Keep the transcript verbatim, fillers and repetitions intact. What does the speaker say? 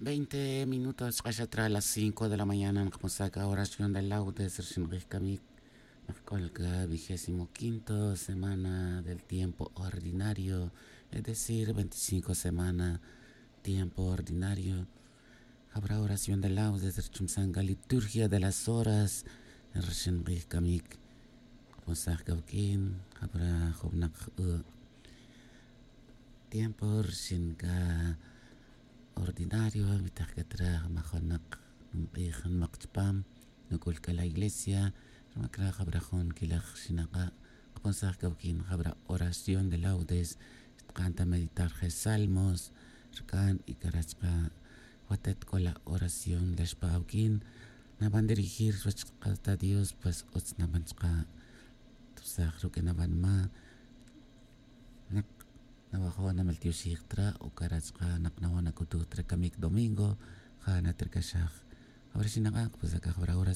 Veinte minutos chq'axa tra las cinco de la mañana nqaponsaj ka oración de laudes rxin q'ij kamik. Naqk'ol ka vigésimo quinto semana del tiempo ordinario, es decir veinticinco semana tiempo ordinario. Jabra oración de laudes rchumsan ka liturgia de las horas rxin q'ij kamik. Nqaponsaj ka wik'in jabra jubnaq tiempo rxin ka ordinario, mitaq ka tra majunaq nq'ij nmaq chpam nuk'ul ka la iglesia. Rma kra jabra jun kilaj xinaq'a' qaponsaj ka wik'in jabra oración de laudes. Xtqan ta meditar je salmos rk'an y kara' chqa' watet k'o la oración la xpa awik'in naban dirigir chuwech qata dios pues utz naban chqa' tpsaj ruk'in naban ma naq nawajo' nameltioxij tra o kara' chqa' naq nawan nak'utuj tra kamik domingo. Ja' natrakaxaj jabra xinaq'a' qaponsaj ka jabra oración.